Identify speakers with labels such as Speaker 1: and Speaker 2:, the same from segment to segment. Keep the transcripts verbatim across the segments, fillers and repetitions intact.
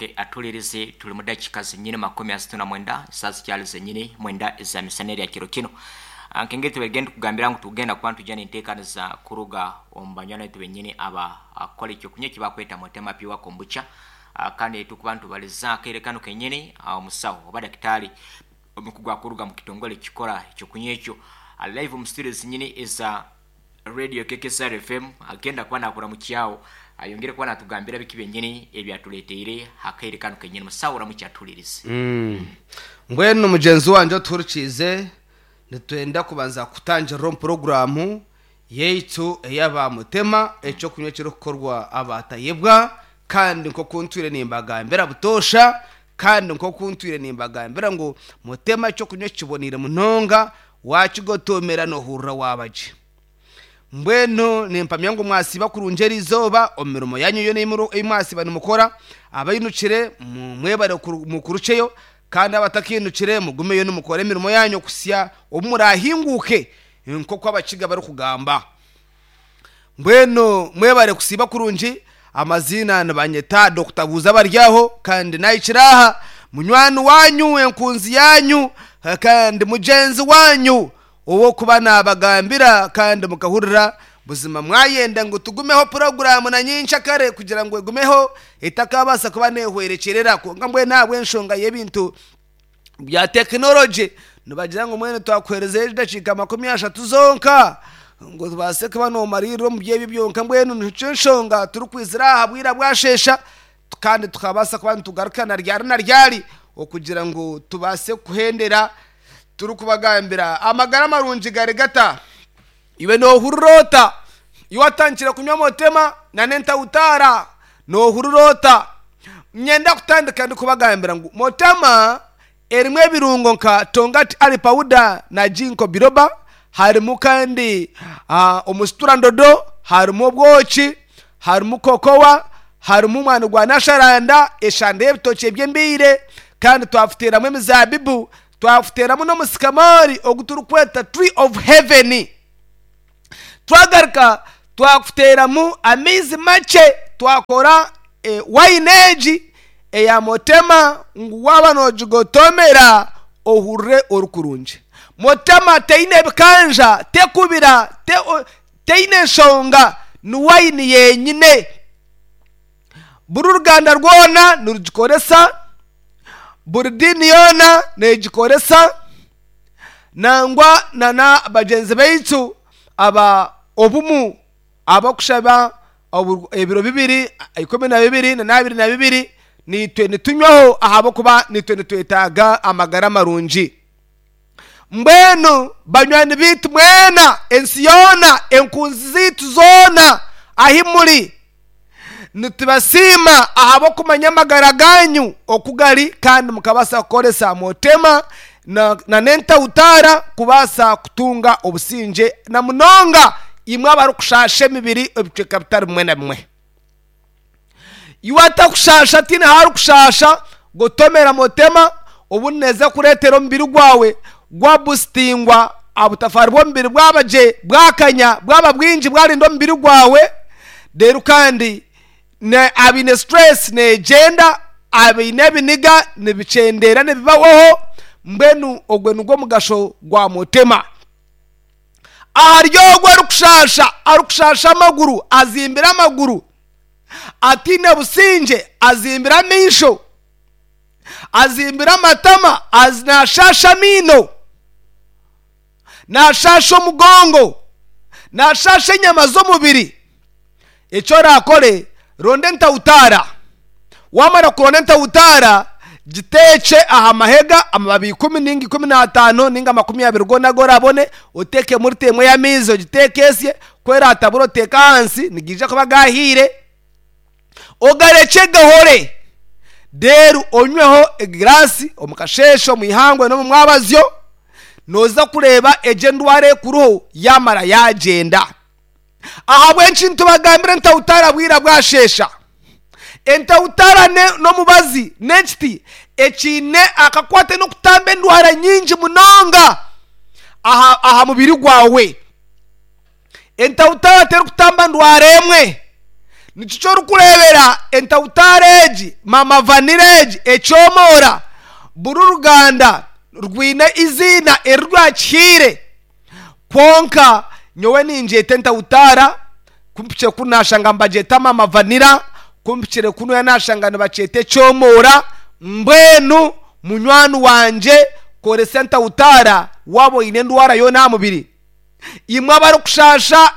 Speaker 1: Oke atulirize tuli mu dakika zenyini makumi asatu na mwenda saa zikyali zenyini mwenda eza misana erya kiro kino. Ah, nkengeri tubegenda kugambira ngu tugenda kuba ntujja nenteekaniza kuruga omu banywani baitu benyini aba akola ekyokunywa ekibakweta Mutema Pure Kombucha. Ah, kandi tukuba ntubaliza akaire kano kenyini ah, omusawo oba dakitaali omukugu akuruga mu kitongole ekikora ekyokunywa ekyo Ah, live mu studio zenyini eza radio K K S R F M agenda kuba nakura mu kyawo ayongere kuba natugambira biki byenyini ebyatuleteire akaire kano kenyini. Musawo uramukyatulirize.
Speaker 2: Mm. Mbwenu mugenzi wanje otuhurikiize, nitwenda kubanza kutangirira omu puroguramu yaitu ey'aba Mutema ekyokunywa ekirikukorwa abatayebwa, kandi nk'oku ntwire nimbagambira butoosha, kandi nk'oku ntwire nimbagambira ngu Mutema ekyokunywa kiboniire munonga, wakigotomera nohurira wabagye. Mbwenu nimpamya ngu mwasiba kurungi erizooba omu mirimo yanyu yoona ei mwasiba nimukora, abainukire mwebare mukuruceyo, kandi abatakinukire mugumeyo nimukora emirimo yanyu kusya obu murahinguke nk'oku abakiga barikugamba. Mbwenu mwebare kusiba kurungi. Amazina nibanyeta Doctor Buuza Baryaho, kandi nahikire aha munywani wanyu, enkunzi yanyu, kandi mugyenzi wanyu owokuba nabagambira kandi mukahurira. Buzima mwayenda ngu tugumeho puroguramu na nyinshi akare kugira ngu egumeho etakabaasa kuba nehwerekyerera, kwonka mbwenu ahabw'enshonga y'ebintu bya tekinologi nibagira ngu mwene twakuherezayo edakiika makumi ashatu zonka ngu tubaase kuba noomariirira omu byebyo byonka. Mbwenu nikyo enshonga turikwizira aha bwira bwashesha, kandi tukabaasa kuba nitugaruka na ryari na ryari okugira ngu tubaase kuhendera turikubagambira amagara marungi gari gata. Iwe nohurira ota iwe watandikire kunywa Mutema na n'entawutaara? Nohurira ota? Nyenda kutandika ndikubagambira ngu Mutema erimu ebirungo nka tongati ali powder na ginkgo biloba, harimu kandi uh, omusiturandodo, harimu obwoki, harimu kokowa, harimu omwani gwa nasharanda, eshanda y'ebitookye by'embiire, kandi twafuteeramu emizabibu, twafuteeramu n'omusikamori ogu turikweta tree of heaven. Twagaruka twakuteeramu amaizi makye, twakora e, wine egi eya Mutema ngu waaba noogigotomera ohurire orikurungi. Mutema teine ebikanja, tekubira, te, teine enshonga, ni wine yenyine. Buri ruganda rwona nirugikoresa, buri diini yoona neegikoresa, nangwa nana bagyenzi baitu aba obumu abakushaba ebiro bibiri ikumi na bibiri na abiri na bibiri, nitwe nitunywaho ahabw'okuba nitwe nitwetaaga amagara marungi. Mbwenu banywani baitu mwena, ensi yoona, enkunzi zaitu zoona ahi muri, nitubasiima ahabw'okumanya amagara ganyu oku gari, kandi mukabaasa kukoresa Mutema na n'entawutaara kubaasa kutunga obusingye, na munonga imwe abarikushasha emibiri ebicweka bitari bimwe na bimwe. Iwe atakushasha tiine aharikushasha, gotomera Mutema obu neeza kureetera omubiri gwawe gwabusitingwa, obutafaari bw'omubiri bwaba gye, bwakanya, bwaba bwingi, bwarinda omubiri gwawe. Reero kandi abaine stress neegyenda, abaine ebiniga nibikyendera nibibahoho. Mbwenu ogwe nigwo mugasho gwa Mutema. Ahari ogwo arikushasha, arikushasha amaguru, azimbire amaguru, ataine busingye, azimbire amaisho, azimbire amatama, nashasha amaino, nashasha omugongo, nashasha enyama z'omubiri, ekyo orakore, ronda entawutaara. Wamara kuronda entawutaara, giteekye aha mahega amababi ikumi ninga ikumi n'ataano ninga makumi abiri goona agu orabone, oteekemu rita emwe y'amaizi ogiteeke esye, ku eratabura oteeke ahansi, nigaija kuba gahiire, ogarekye gahore. Reero onyweho egiraasi omu kasheeshe, omu ihangwe n'omu mwabazyo, nooza kureeba egyo endwara ekuriho yamara yagyenda. Ahabw'enki nitubagambira entawutaara bwira bwashesha? Entawutaara n'omubazi n'ekiti ekiine akakwate n'okutamba endwara nyingi munonga aha, aha mubiri gwawe. Entawutaara terikutamba ndwara emwe, Nikyo orikureebera entawutara egi, mama vanira egi, ekyomora, buri ruganda rwine iziina erirwakihiire. Kwonka nyowe ningyeta entawutara, kumpikire kunu nashanga nibagyeta mama vanira, kumpikire kunuya nashanga nibakyeta ekyomora. Mbwenu munywani wangye, koresa entawutara waaba oine endwara yoona aha mubiri. Imwe abarikushasha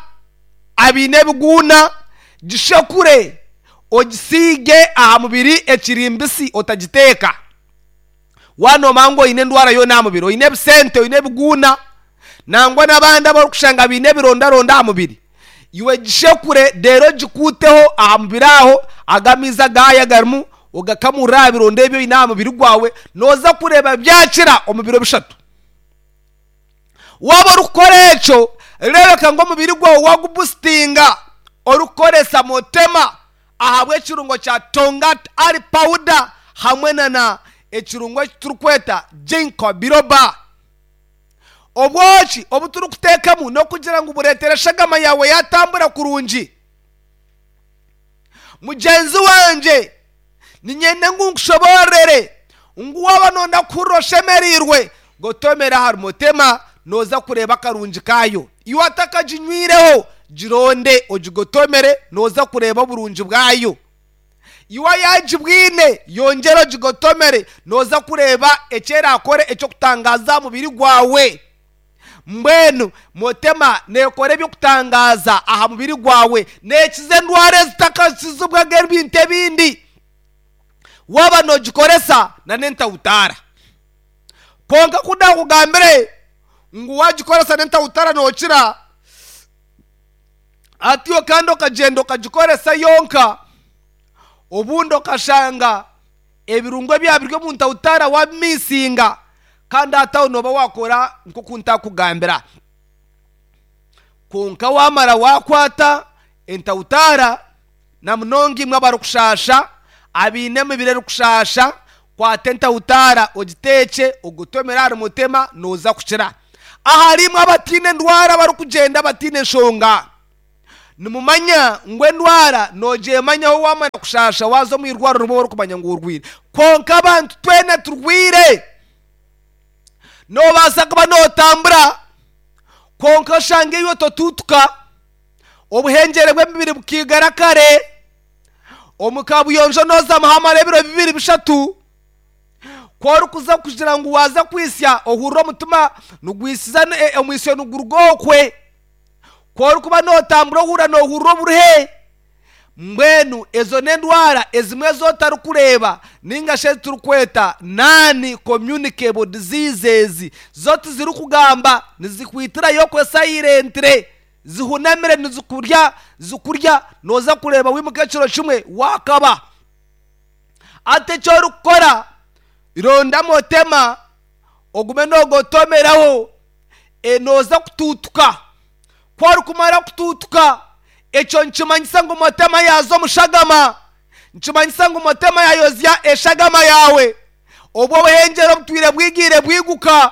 Speaker 2: abaine ebiguuna, gishekure ogisiige aha mubiri ekiri mbisi, otagiteeka. Wanomanya ngu oine endwara yoona aha mubiri, oine ebisente, oine ebiguuna, nangwa n'abandi abarikushanga baine ebirondaronda aha mubiri, iwe gishekure reero ogikuuteho aha mubiri aho, aga amaizi agaya garimu ogakamurira aha bironda ebi oine aha mubiri gwawe, nooza kureeba byakira omu biro bishatu. Waaba orikukora ekyo, reebeka ngu omubiri gwawe wagubusitinga orikukoresa motema ahabw'ekirungo kya Tongat Ali powder hamwe na na ekirungo eki turikweta Ginkgo biloba. Obwoki obu turikuteekamu n'okugira ngu bureetere eshagama yawe yatambura kurungi. Mugyenzi wangye, niinyenda ngu nkushoboorere ngu waaba noyenda kuhurira oshemereirwe, gotomera ahari motema, nooza kureeba akarungi kaayo. Iwe atakaginywireho, gironde ogigotomere, nooza kureeba oburungi bwayo. Iwe ayagibwine, yongyere ogigotomere, nooza kureeba eki erakore eky'okutangaza aha mubiri gwawe. Mbwenu motema neekora eby'okutangaza aha mubiri gwawe, neekiza endwara ezitakakizibwaga ebintu ebindi waaba noogikoresa na n'entawutara. Kwonka ku ndakugambire ngu wagikoresa n'entawutara nookira, atyo kandi okagyenda okagikoresa yonka, obundi okashanga ebirungo ebyaba biri omu ntawutara wabimisinga, kandi hati aho nooba wakora nk'oku ntakugambira. Kwonka wamara wakwata entawutara, na munonga imwe abarikushasha, abaine emibiri erikushasha, kwata entawutara ogiteekye ogotomere ahari mutema, nooza kukira. Ahari imwe abatiine endwara, abarikugyenda batiine enshonga, nimumanya ngu endwara noogyemanyaho wamara kushasha, waza omu irwariro nibwo orikumanya ngu orwire. Kwonka abantu twena turwire. Noobaasa kuba nootambura, kwonka oshange iwe totuutuka, obuhengyere bw'emibiri bukiigara kare, omu kabuyonjo noozamu hamara ebiro bibiri bishatu. Ku orikuza kugira ngu waaza kwisya, ohurira omutima nigwisiza, omwisyo niguruga okwe. Ku orikuba nootambura, ohurira noohurira oburuhe. Mbwenu ezo n'endwara ezimwe ez'otarikureeba, ninga shi ezi turikweta non communicable diseases, zo tizirikugamba, nizikwitirayo okwe silently, zihunamire nizikurya zikurya. Nooza kureeba wimuka ekiro kimwe wakaba. Ati eki orikukora, ronda motema ogume noogotomeraho, nooza kutuutuka. Ku orikumara kutuutuka, ekyo nikimanyisa ngu motema yaaza omu shagama, nikimanyisa ngu motema yayozya eshagama yawe, obwo obuhengyere obutwire bwigiire bwiguka,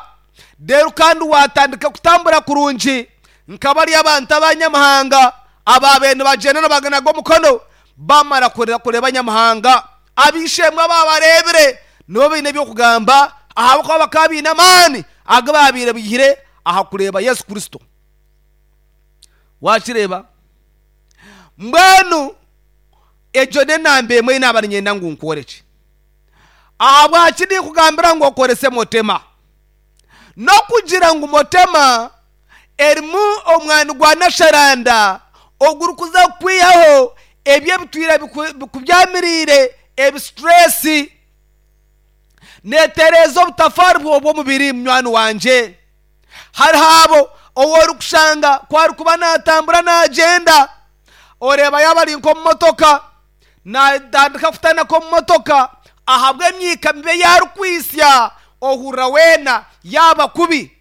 Speaker 2: reero kandi watandika kutambura kurungi nka bari abantu abanyamahanga ababaire nibagyenda nibaganaga omukono. Bamara kureeba abanyamahanga, ab'eishe-emwe ababareebire nibo baine eby'okugamba, ahabw'okuba bakaba baine amaani agu babaire baihire aha kureeba Yesu Kristo. Wakireeba? Mbwenu egyo n'enamba emwe ei naaba niinyenda ngu nkworekye. Ahabwaki ninkugambira ngu okorese motema? N'okugira ngu motema erimu omwani gwa nasharanda ogurikuza kukwihaho ebyo ebitwire bikubyamiriire, ebisituresi. Neetereeza obutafaari bw'omubiri. Munywani wangye, hariho abo ou orikushanga ku arikuba naatambura naagyenda, oreeba yaaba ari nk'omu motoka, naatandika kutanaka omu motoka ahabw'emyika mibi ei arikwisya, ohurira weena yaaba kubi.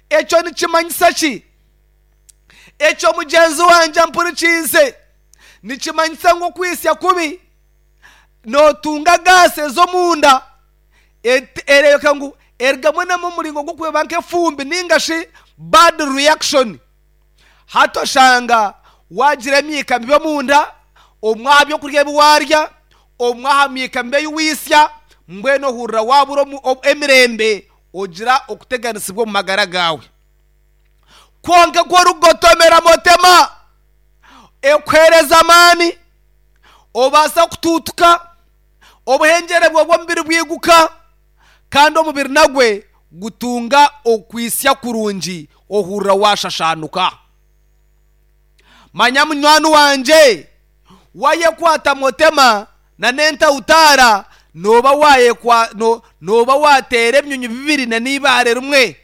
Speaker 2: Ekyo nikimanyisa ki ekyo, mugyenzi wangye mpurikiize? Nikimanyisa ngu okwisya kubi nootunga gaasi ez'omunda, ereebeka ngu erigamu namu omuringo gw'okureba nk'efumbi ninga shi bad reaction. Hati oshanga Wagira emyika mibi omunda, omwe aha byokurya ebi warya, omwe aha myika mibi ei wisya, mbwenu ohurira wabura emirembe, ogira okuteganisibwa omu magara gaawe. Kwonka ku orikugotomera motema, ekuheereza amaani, obaasa kutuutuka, obuhengyere bwawe bw'omubiri bwiguka, kandi omubiri nagwe gutunga okwisya kurungi, ohurira washashanuka. Manya munywani wangye, wayekwata motema na n'entawutaara, nooba wayekwa no, nooba wateera ebinyonyi bibiri na n'ibaare rimwe.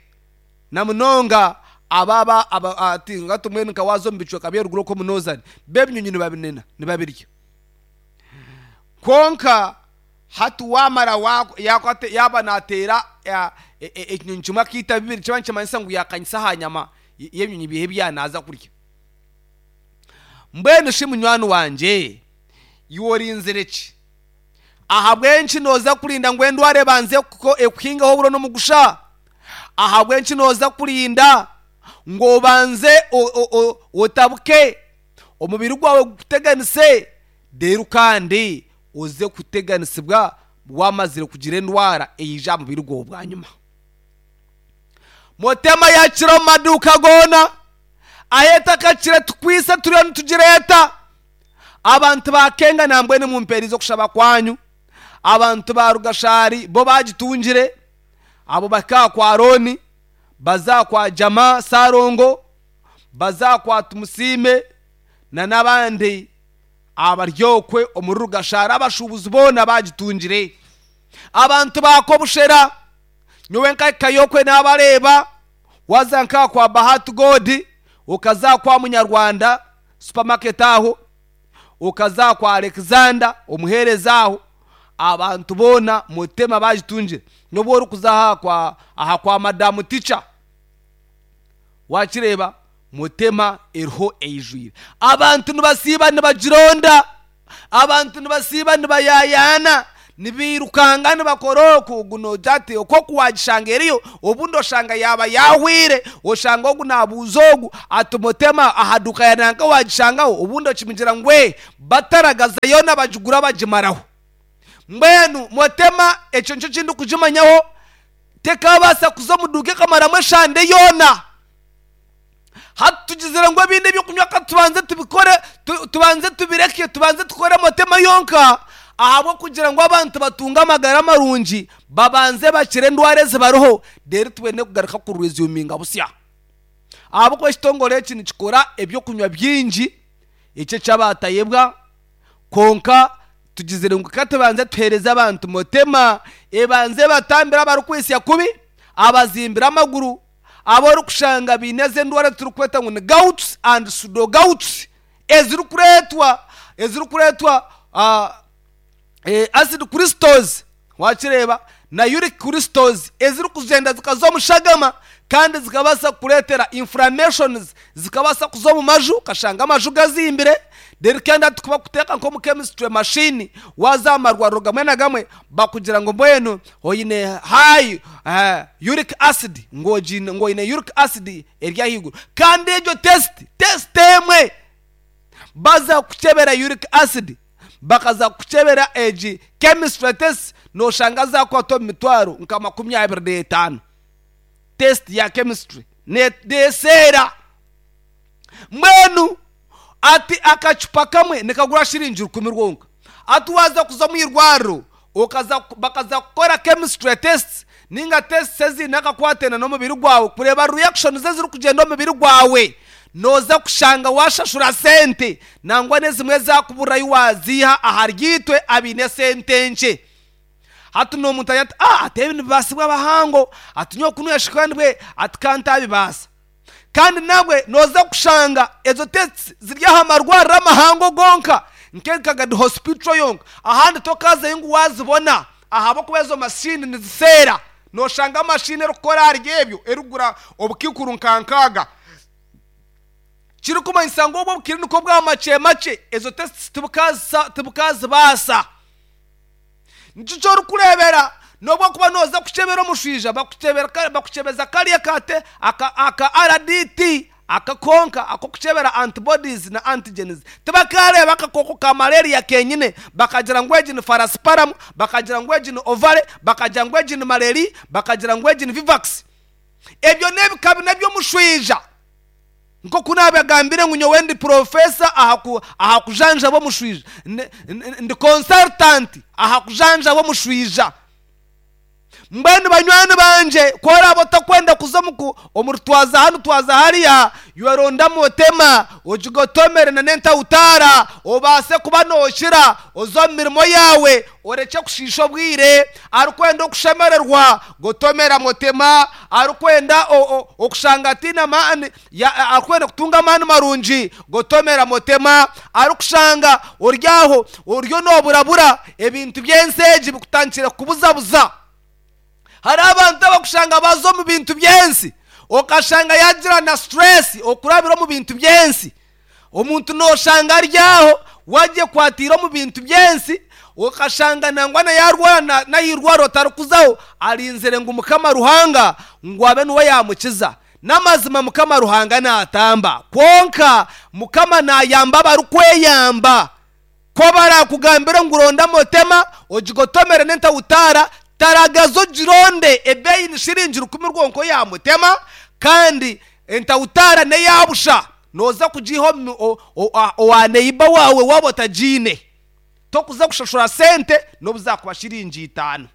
Speaker 2: Na munonga ababa aba ati nga tumwe nka waza omu bicweka by'eruguru okwo munozani, bo ebinyonyi nibabinena nibabirya. Kwonka hati wamara yakwata yaba nateera ekinyonyi kimwe akiita bibiri, kiba nikimanyisa ngu yakanyisa aha nyama y'ebinyonyi bihe ebi kurya. Mbwenu shi munywani wangye, iwe orinzire ki? Ahabw'enki nooza kurinda ngu endwara ebanze ekuhingaho oburo n'omugusha? Ahabw'enki nooza kurinda ngu obanze otabuke, omubiri gwawe gukuteganise, reero kandi oze kuteganisibwa wamazire kugira endwara eija aha mubiri gwawe bwanyima? Motema yakira omu maduuka goona, ahu etakakire tukwise turiyo nitugireeta. Abantu bakenga nambwenu mumpeerize okushaba kwanyu. Abantu ba Rugashari bo bagitungire, abo bahika kwa Arooni, baza kwa Jama Sarongo, baza kwa Tumusiime na n'abandi abari okwe omuri Rugashari, abashuubuzi boona bagitungire. Abantu ba Kobushera, nyowe nkahikayo okwe nabareeba, waza nka kwa Bahati God, okaza kwa Munyarwanda supermarket aho, okaza kwa Alexander omuheereza aho, abantu boona motema bagitungire. N'obu orikuza aha kwa aha kwa madamu teacher, wakireeba motema eriho eijwire. Abantu nibasiiba nibagironda, abantu nibasiiba nibayayaana, nibiirukanga nibakora oku ogu noogira ati okwo oku wagishanga eriyo, obundi oshanga yaaba yaahwire, oshanga ogu naabuuza ogu ati motema aha duuka ya nanka wagishangaho, obundi okimugira ngu ee, bataragaza yoona bagigura bagimaraho. Mbwenu motema ekyo nikyo kindikugimanyaho, tekabaasa kuza omu duuka ekamaramu eshande yoona. Hati tugizire ngu ebindi ebyokunywa ka tubanze tubikore, tubanze tubireke, tubanze tukore motema yonka, ahabw'okugira ngu abantu batunge amagara marungi, babanze bakire endwara ezibariho, reero tubone kugaruka kuresuminga busya. Ahabw'okuba ekitongore eki nikikora ebyokunywa bingi, eki eky'abatayebwa, kwonka tugizire ngu ka tubanze tuheereze abantu motema, ebanze ebatambire abarikwisya kubi, abazimbire amaguru, abu orikushanga baine ezi endwara eziturikweta ngu ni gouts and pseudogouts, ezirikureetwa ezirikureetwa acid crystals, wakireeba, na uric crystals, ezirikugyenda zikaza omu shagama kandi zikabaasa kukureetera inflammations, zikabaasa kuza omu maju, okashanga amaju gazimbire. Reero kandi hati kubakuteeka nk'omu chemistry machine, waaza aha marwariro gamwe na gamwe, bakugira ngu mbwenu oine high uric acid, ngu oine uric acid eri ahaiguru. Kandi egyo test, test emwe, baza kukukyebera uric acid, bakaza kukukyebera egi chemistry test, nooshanga zaakukwata omu mitwaro nka makumi abiri n'etaano. Test ya chemistry neeseera. Mbwenu ati akacupa kamwe nikagura shiringi rukumi rwonka. Hati waaza kuza omu irwariro okaza bakaza kukora chemistry test ninga tests eziine akakwate n'omubiri gwawe kureeba reactions ezirikugyenda omu mubiri gwawe, nooza kushanga waashashura sente, nangwa n'ezimwe ezaakuburirayo waaziiha ahari itwe abaine sente nkye. Hati n'omuntu agira ati ah ati ebi nibibaasibwa abahango, ati nyowe kunu yashika ndibwe, ati ka ntabibaasa. Kandi nabwe nooza kushanga ezo tests ziri aha marwariro amahango gonka, nk'enkagadi hospital yonka, ahandi tokazayo ngu waazibona, ahabw'okuba ezo mashini niziseera. Nooshanga mashini erikukora ahari ebyo erikugura obukiikuru nka nkaaga. Kirikumanyisa ngu obwo obukiri niko bwa makye makye, ezo tests tibukazibaasa. Nikyo ky'orikureebera n'obu okuba nooza kukyebera omushwija, bakukyebeza kariya aka R D T. Akakonka akokuchebera antibodies na antigens tibakareba akakoko ka malaria kenyine, bakagira ngu egi ni falciparum, bakagira ngu egi ni ovale, bakagira ngu egi ni malaria, bakagira ngu egi ni vivax. Ebyo n'ebika bina by'omushwija. Nkoku nabagambire ngu nyowe ndi professor aha aha kujanja b'omushwija, ndi consultant aha kujanja b'omushwija. Mbwenu banywani banje, kora botakwenda kuza muku omurutwaza hanu twaza hariya, yoronda motema ojigotomere na nenta utara, obase kuba noshira ozo mirimo yawe, oreke kushisha obwire. Arukwenda okushemererwa gotomera motema, arukwenda okushanga tina maani, arukwenda kutunga maani marungi gotomera motema, arukushanga oryaho oryo noburabura ebintu byenseji bikutankira kubuzabuza. Hari abantu abakushanga bazo mu bintu byensi, okashanga yagira na stress okurabira mu bintu byensi. Omuntu noshanga aryaho waje kwatira mu bintu byensi, okashanga nangwa na yarwana na yirwaro tarukuzaho, arinzire ngu Mukama Ruhanga ngu abe nuwe yamukiza. Namazima Mukama Ruhanga natamba, konka Mukama nayamba barukweyamba. Ko barakugambira ngu ronda motema ojigotomere nenta utara, taragazo jironde ebeyi ni shiringi rukumi rwonko ya mutema, kandi entautara ne yabusha noza kujiho owaneiba wawe wabo tajine tokuza kushashura sente nobuza kuba shiringi itano.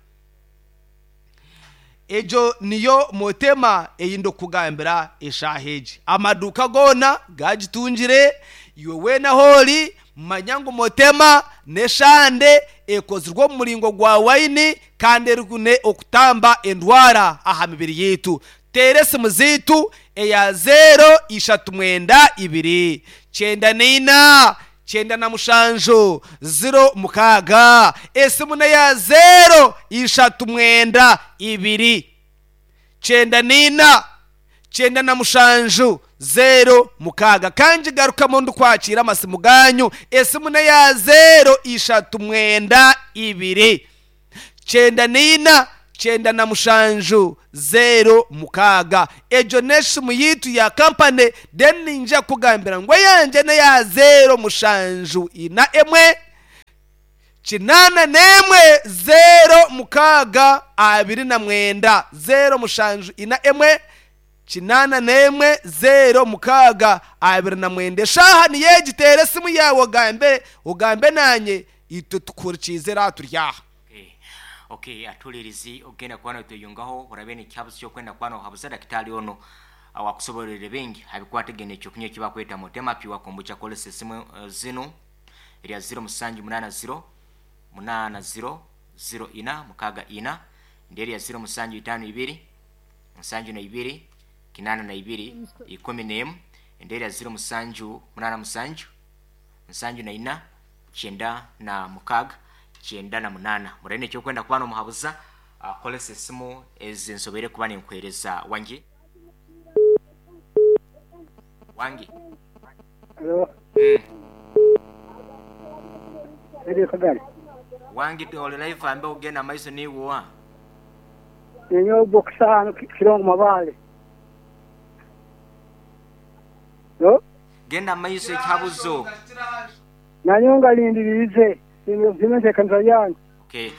Speaker 2: Ejo niyo motema eyindo kugambira eshaheji amaduka gona gagitungire iwe wena holi manyango motema neshande ekozirwa mu muringo gwa waini kandi erikune okutamba endwara aha mibiri yitu. Teresi muzitu eya zero ishatu mwenda ibiri cyenda nina cyenda na mushanjo zero mukaga. Esimu ya zero ishatu mwenda ibiri cyenda nina cyenda na mushanjo zero mukaga. Kanji garuka mundu kwakira amasimu ganyu. Esimu ya zero ishatu mwenda ibiri cyenda nina cyenda na mushanju zero mukaga. Ejo neshimu yitu ya company then ninja kugambira ngo yanje ne ya zero mushanju ina emwe kinana nemwe zero mukaga abiri na mwenda zero mushanju ina emwe kinana nemwe zero mukaga abiri na mwenda. Shaha ni yegitere simu yawe ugambe ugambe nanye ito tukurikize turyaha.
Speaker 1: Okay, atulirizi ogenda kwana tuyungaho orabene kyabuzo cyo kwenda kwana habuza daktari ono awakusoborere bengi abikwategene cyo kunye kiba kweta motema piwa kombucha kolese simu uh, zino eri zero musanju munana zero munana zero zero ina mukaga ina nderi ya zero musanju itano ibiri musanju na ibiri kinana na ibiri ikumi nemu nderi ya zero musanju munana musanju musanju na ina chenda na mukaga chenda na munana. Murene cyo kwenda kubano muhabuza akolese simu ezinsobere kuba ninkwereza wangi wangi.
Speaker 3: Hello.
Speaker 1: Mm.
Speaker 3: Eri kagari
Speaker 1: wangi tole live ambe ugenda maiso ni wa
Speaker 3: nenyo boxa kirongo mabale. No
Speaker 1: genda maiso cyabuzo
Speaker 3: nanyonga lindirize zimeze kanza yangu.
Speaker 1: Okay,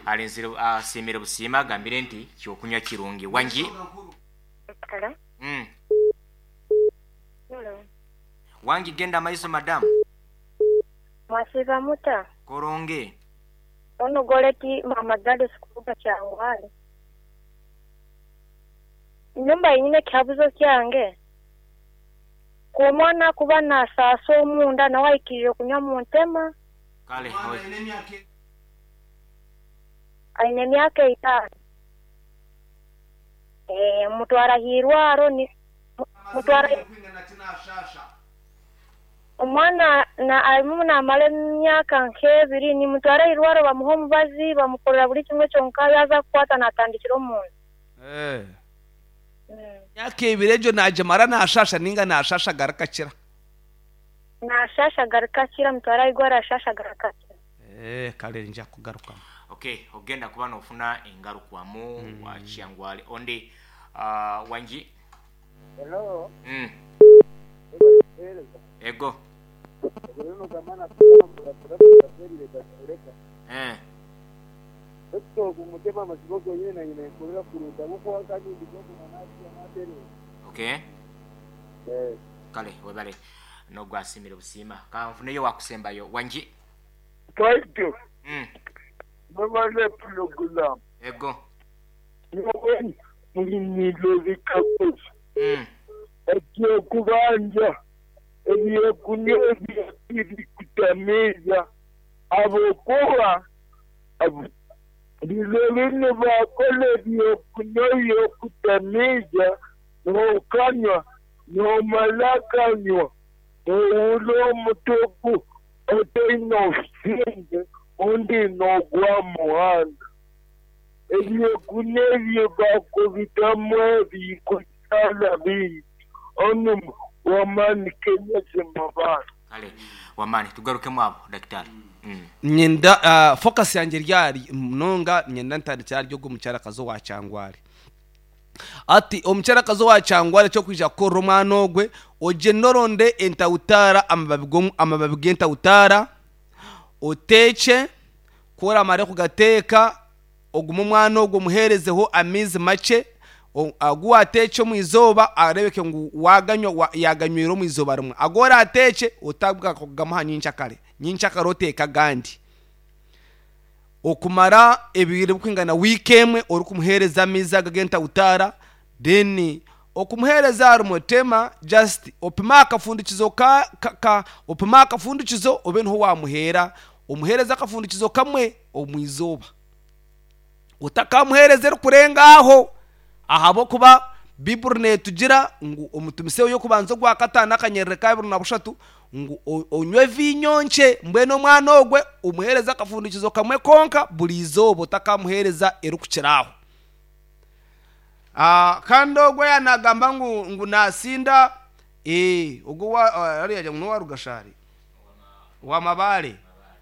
Speaker 1: alinzire asimire busima gambire nti cyokunywa kirungi wangi.
Speaker 4: Hello.
Speaker 1: Mm.
Speaker 4: Hello.
Speaker 1: Wangi genda maiso madam.
Speaker 4: Mwasiba muta.
Speaker 1: Koronge.
Speaker 4: Ono goleti mama gade sikuba cyangwale. Nyumba yinyine cyabuzo cyange. Kumwana kuba na saso omunda na waikirire kunywa mu ntema.
Speaker 1: Kale
Speaker 4: aine myaka itano. Eh mutwara hirwaro ni mutwara omwana na alimu na male myaka nkebiri ni mutwara hirwaro bamuho mubazi bamukorera buri kimwe cyonka yaza kwata natandikira omuntu.
Speaker 2: Eh myaka ibiri ejo naje mara nashasha ninga nashasha garakakira
Speaker 4: nashasha garakakira mutwara igwara shasha garakakira.
Speaker 2: Eh kale nja kugaruka.
Speaker 1: Okay, ogenda kuba nofuna engarukwamu mm. wa kyangwale onde uh, wangi.
Speaker 3: Hello.
Speaker 1: Mm.
Speaker 3: Kuheereza.
Speaker 1: Ego.
Speaker 3: Rero gamana kuraterire gakureka.
Speaker 1: Eh.
Speaker 3: Ekyo kumutema amasigo yene na yene kurera kuruta kuko akanyindi ko kunanasi amatere.
Speaker 1: Okay.
Speaker 3: Eh.
Speaker 1: Kale webale nogwasimire busiima kanfuneyo wakusembayo wangi.
Speaker 3: Twaito.
Speaker 1: Mm.
Speaker 3: Babale program.
Speaker 1: Ego.
Speaker 3: Yowe mulinilo zikakosa.
Speaker 1: Mm.
Speaker 3: Ekyo kubanja ebyokunywa bikutameza abokuba bilolini bakola ebyokunywa byokutameza n'okanywa n'omala kanywa owula omutuku otaine obusinge undi n'ogwa muhanda ebyokunywa ebyo bakubitamu ebikutala bingi onu wamani Kenya zemabara.
Speaker 1: Kale wamani tugarukemu abo daktari. Mm.
Speaker 2: Nyenda uh, focus yanjye ryari munonga nyenda ntandikira ryo gumucyarakazo wa cyangwari ati omukyarakazo wa cyangwari cyo kwija korora omwana ogwe oje noronde entautara amababi g'omu- amababi g'entautara oteeke koramare kugateeka ogume omwana ogwo omuheerezeho amaizi makye o- agu wateeke omu izooba arebeke ngu waganywa wa- yaganywire omu izooba rimwe agu orateeke otabwa kugamuha nyenkyakare nyenkyakare oteeka agandi okumara ebiro bikwingana wiiki emwe orikumuheereza amaizi aga g'entautara then okumuheereza harumutema just opima akafundikizo ka, ka, ka opima akafundikizo obe niho wamuheera omuheereza akafundikizo kamwe omu izooba otakamuheereza erikurenga aho ahabwokuba biburi netugira ngu omutumiseho yokubanza ogwa kataano akanyerere ka bibiri na bushatu ngu o- onywe vinyo nkye mbwenu omwana ogwe omuheereza akafundikizo kamwe konka buri izooba otakamuheereza erikukira aho. Ah, kandi ogwe yanagamba ngu ngu nasinda eh ogwo wa ariya ngu wa rugashari wa mabale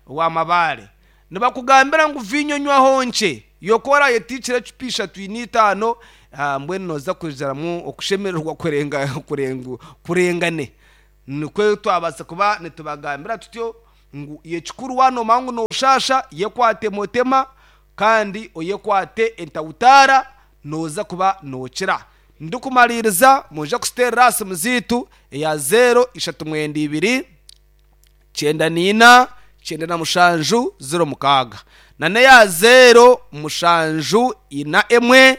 Speaker 2: wa mabale nibakugambira ngu vinyo nywaho nkye yokora yetikire ecupa ishatu n'itaano ah, mbwenu noza kujaramu okushemererwa kurenga kurenga kurengane nikwe twabasa kuba nitubagambira tutyo ngu yekikuru wanoma ngu noshasha yekwate motema kandi oyekwate entautara noza kuba nokira ndikumaliriza muja kusiterera simu ziitu eya zero ishatu mwenda ibiri cyenda nina cyenda na mushanju zero mukaaga na neya zero mushanju ina emwe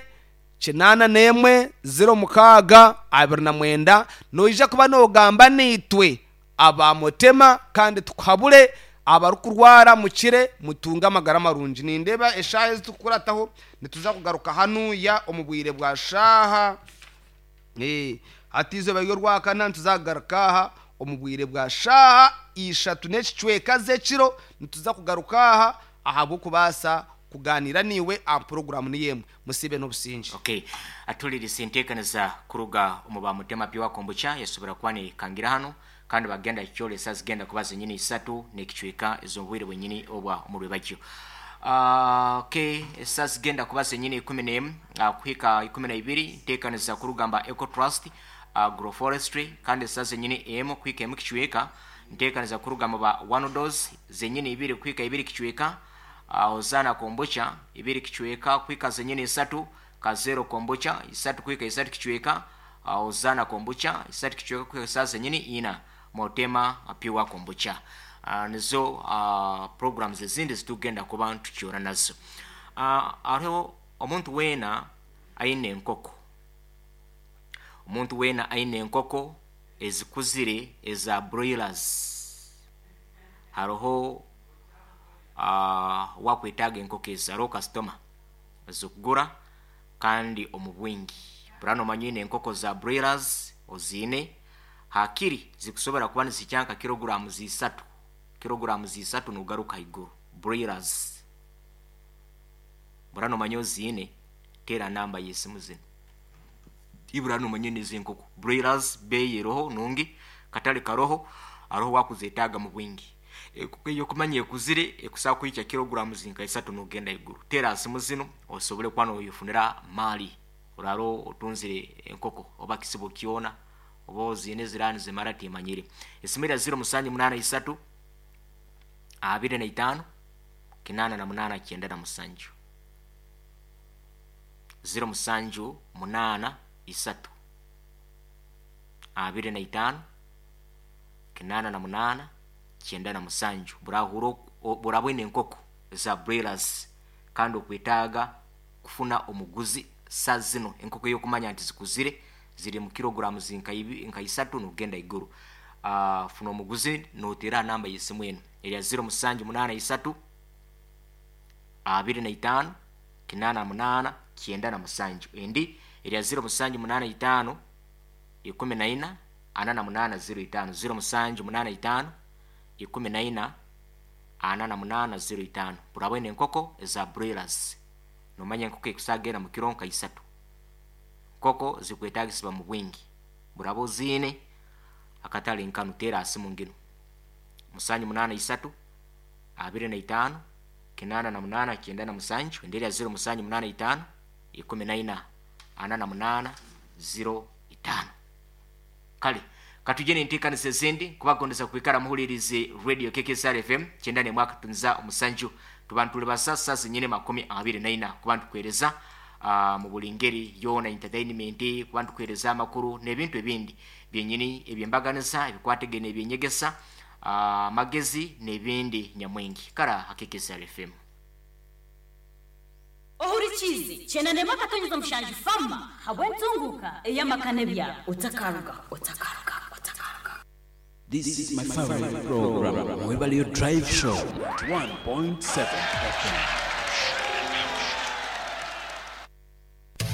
Speaker 2: kinana n'emwe zero mukaaga abiri na mwenda noija kuba nogamba niitwe abamutema kandi tukuhabure abarikurwara mukire mutunge amagara marungi nindeba eshaaha ezi tukukurataho nituza kugaruka hanuya omu bwire bwa shaaha. Eh, hati izooba ry'orwakana ntituzagaruka aha omu bwire bwa shaaha ishatu n'ekicweka z'ekiro nituza kugaruka aha ahabw'okubaasa kuganira niiwe aha puroguramu niyo emwe musibe n'obusinge.
Speaker 1: Okay atulirisa enteekaniza kuruga omu bamutema pure kombucha yasobora kuba nekangira hano kandi bagenda kyolesa zigenda kuba zenyini isatu n'ekicweka ez'obwire bwenyini obwa omu rwebagyo. Uh, okay esa zigenda kuba zenyini ikumi n'emu uh, kuhika ikumi na ibiri nteekaniza kurugamba eco trust agroforestry kandi esa zenyini emu kuhika emu kicweka nteekaniza kurugamba ba one dose zenyini ibiri kuhika ibiri kicweka uh, ozana kombucha ibiri kicweka kuhika zenyini isatu kazero kombucha isatu kuhika isatu kicweka uh, ozana kombucha isatu kicweka kuhika saa zenyini ina motema pure kombucha. Uh, nizo uh, programs ezindi zitugenda kuba tukyora nazo. Uh, hariho omuntu weena aine enkoko omuntu weena aine enkoko ezikuzire eza broilers hariho uh, wakwetaaga enkoko ezo hariho kasitoma ezikugura kandi omu bwingi burano omanyine enkoko za broilers oziine hakiri zikusobora kuba nizikyanka kiloguramu zisatu kiloguramu zisatu nugaruka haiguru broilers burano omanye oziine teera namba y'esimu zino iburano omanye n'ezenkoko broilers beeyi eroho nungi katale karoho aroho wakuzetaaga mu bwingi enkoko eyokumanya ekuzire ekusobola kuhikya kiloguramu zinka isatu nogenda haiguru teera simu zino osobole kuba noyefunira maali oraro otunzire enkoko oba kisibo kyona Oba oziine zirani zimara timanyire. Esimu ya ziro musanju munana isatu abiri na itano kinana na munana kyenda na musanju. Ziro musanju munana isatu abiri na itano kinana na munana kyenda na musanju. Burahuro burabwine enkoko za broilers kandi okwetaaga kufuna omuguzi saa zino enkoko y'okumanya nti zikuzire ziri mu kilograms nka isatu nogenda iguru. Uh, funa omuguzi notera namba y'esimu eno erya ziro musanju munana isatu abiri na itano kinana munana kyenda na musanju. Endi erya ziro musanju munana itano ikumi na ina ana na munana ziro itano. Ziro musanju munana itano ikumi na ina ana na munana ziro itano. Burabwene enkoko eza broilers nomanya enkoko ekusagera mu kiro nka isatu. Nkoko zikwetagisibwa mu bwingi. Burabo zine akatale nkanu tera asimu ngino musanju munana isatu abiri na itano kinana na munana kyenda na musanju. Endelea ziro musanju munana itano ikumi na ina ana na munana ziro itano. Kale katujene ntekanisa ezindi kubagondesa kwikara muhulirize Radio K K S R F M kyenda ne mwaka tunza omusanju. Tubantu basasa zinyine makumi abiri na ina kubantu kwereza uh, mu buli ngeri yona entertainment, kubantu kwereza amakuru n'ebintu ebindi byenyini ebyembaganiza ebikwategene ebyenyegesa amagezi uh, n'ebindi nyamwingi. Kara K K S R F M.
Speaker 5: Ohurichizi chenane makatonyeza mushanju fama habwentunguka eyamakane utakaruga utakaruga utakaruga.
Speaker 6: This is my favorite program, Mwebalio Drive Show, one point seven F M.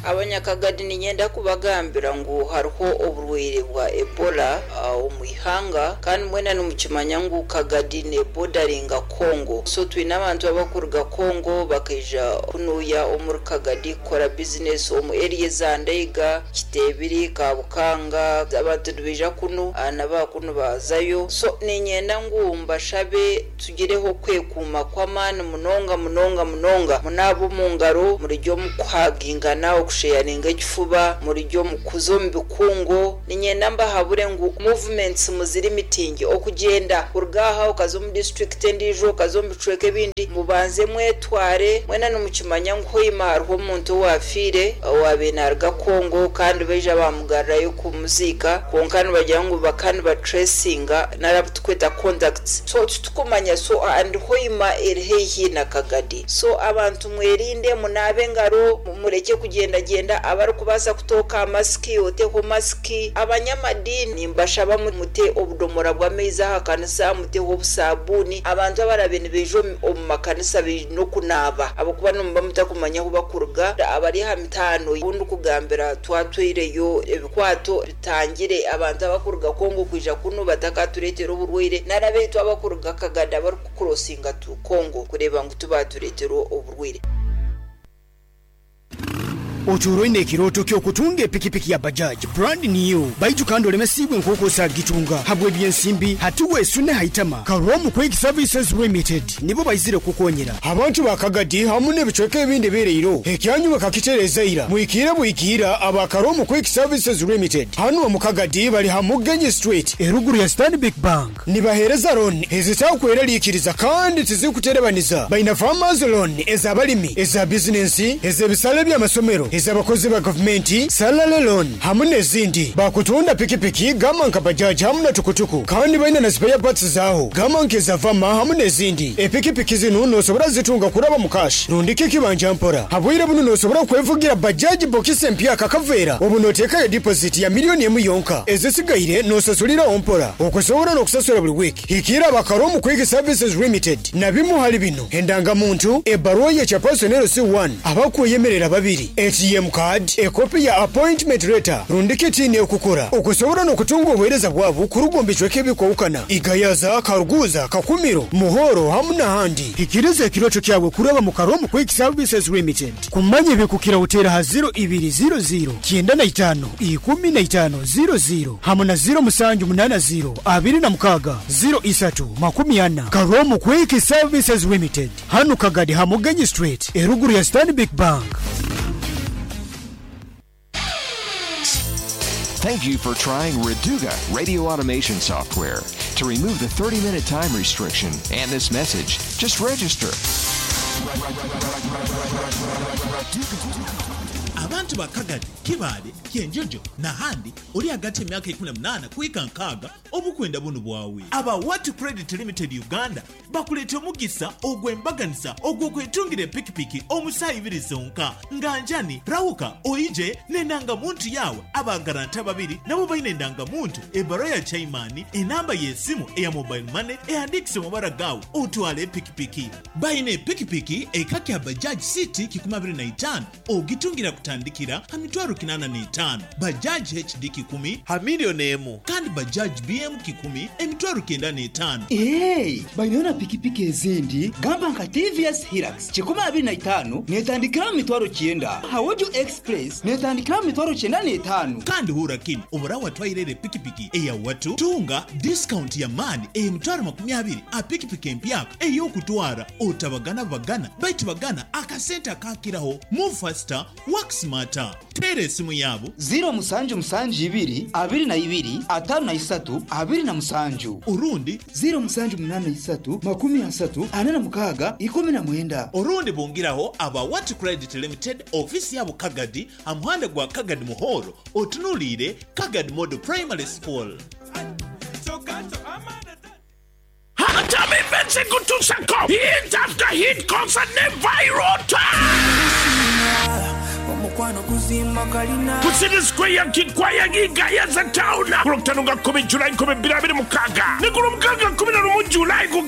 Speaker 7: Abanyakagadi ninyenda kubagambira ngu hariho oburwaire bwa Ebola omu ihanga, kandi mwena nimukimanya ngu Kagadi ne bordering'a Congo. So twine abantu abakuruga Congo bakaija kunuya omuri Kagadi kukora business omu area za Ndeiga, Kitebiri, Kabukanga, abantu nibaija kunu naba kunu bazayo. So ninyenda ngu mbashabe tugireho kwekuuma kw'amaani munonga munonga munonga, munabo mu ngaro murijyo mukuhagingana okusharinga ekifuba murijyo mukuzo mu bikungo. Ninyenda mbahabure ngu movements muziri mitingi okugenda kurugaha okaza omu district endijo okaza omu bicweka ebindi mubanze mwetware. Mwena nimukimanya ngu hoima hariho omuntu owafiire owabe naruga Congo kandi baija bamugarrayo kumuziika, kwonka nibagira ngu bakani batracinga narabutukweta contacts. So tutukumanya so and hoima eri haihi na Kagadi. So abantu mwerinde munabe engaro mureke kugenda genda, abarikubaasa kutoka masiki oteho masiki. Abanyamadini mbashaba mute obudomora bw'amaizi aha kanisa, muteho obusabuni. Abantu abarabe nibaija omu makanisa baine okunaaba abakuba nimuba mutakumanya ahu bakuruga. Abari aha mitaano obundi kugambira twatwireyo ebikwato bitangire abantu abakuruga Congo kwija kunu batakatureetera oburwaire, narabeitu abakuruga Kagadi abarikukurosinga tu Congo kureeba ngu tubatureetera oburwaire.
Speaker 8: Oturoine ekiroto kyokutunga epikipiki ya Bajaj brand new baitu kandi olemesibwe nkoko sagitunga habwe byensimbi hatuwe sune haitama. Karomu Quick Services Limited nibo baizire kukonyera abantu bakagadi hamwe n'ebicweka ebindi bereiro ekyanyu bakakitereza ira mwikira bwikira aba Karomu Quick Services Limited hano mu Kagadi bali hamugenyi Street eruguru ya Stanbic Bank nibahereza loan ezitakweralikiriza kandi tizikuterebaniza. Baina farmers loan ezabalimi, eza business, ezebisale by'amasomero, ezabakozi ba gavumenti, salary loan hamwe n'ezindi. Bakutunda pikipiki gama nka bajaji hamwe na tukutuku kandi baina na spare parts zaho gama nkeza vama hamwe n'ezindi. Epikipiki zino nosobora zitunga kuraba mu cash rundike kibanja mpora habwire buno nosobora kwevugira bajaji bokisi empya kakavera obu notekayo deposit ya miliyoni emu yonka ezisigaire nosasulira ompora okusobora n'okusasula buli wiki. Hikira abakaromu Quick Services Limited na bimu hali bino endangamuntu, ebaruwa ya chapaso C one, abakuyemerera babiri, A T M card, ekopi ya appointment letter, rundike tini okukora okusobora n'okutunga obuheereza bwabo kurugomba icweka ebikwawukana Igayaza, Karuguza, Kakumiro, Muhoro hamwe n'ahandi. Hikiriza ekiroto kyawe kuraba mu Karomu Quick Services Limited. Kumanya ebikukira utera ha zero ibiri zero zero kyenda na itano ikumi na itano zero zero hamwe na zero musanju munana zero abiri na mukaga zero isatu makumi ana. Karomu Quick Services Limited hano Kagadi Hamugenyi Street eruguru ya Stanbic Bank.
Speaker 9: Thank you for trying Reduga radio automation software. To remove the thirty minute time restriction and this message, just register.
Speaker 10: Abantu ba Kagadi, Kibaale, Kyenjojo n'ahandi ori hagati y'emyaka ikumi na munaana kuhika nkaaga obukwenda bunu bwawe. Aba Wat Credit Limited Uganda bakuleeta omugisa ogw'embaganisa ogw'okwetungira epikipiki omu saaha ibiri zonka. Nga njani rahuka oije n'endangamuntu yawe, abagaranta babiri nabo baine endangamuntu, ebbaruwa ya chaimani, enamba y'esimu eya mobile money ehandiikise mabara gawe, otwale epikipiki. Baine epikipiki eka kya Bajaj City kikumi abiri na itaano ogitungira kutandikira ha mitwaro kinana n'etaano, Bajaj H D kikumi ha miliyoni emu, kandi Bajaj B M kikumi emitwaro kyenda n'etaano.
Speaker 11: Hey, baineyo na pikipiki ezindi gamba nka T V S Hilux kikumi abiri na itaano netandikira mu mitwaro kyenda, Hawojo Express netandikira mu mitwaro kyenda n'etaano.
Speaker 10: Kandi hura kinu, obura watwairere pikipiki eya watu tunga discount ya maani emitwaro makumi abiri a pikipiki empyaka ey'okutwara otabagana bagana baitu bagana akasente akakiraho. Move faster, work smarter. Teera esimu yaabo.
Speaker 11: Ziro musanju musanju ibiri abiri na ibiri atano na isatu abiri na musanju.
Speaker 10: Urundi
Speaker 11: ziro musanju munana isatu makumi asatu ana na mukaga ikumi na mwenda.
Speaker 10: Orundi bungiraho aba Wat Credit Limited, ofisi yabo Kagadi, amuhanda gwa Kagadi Muhoro, otunuliire Kagadi Model Primary School.
Speaker 12: Hatami Kutusako hit after hit concert ne viral. Ku City Square, Kikwaya, Gayaza Town, ku Lwokutaano nga kkumi Julayi nkumi bbiri abiri mukaaga ne ku Lwomukaaga kkumi na lumu Julayi ku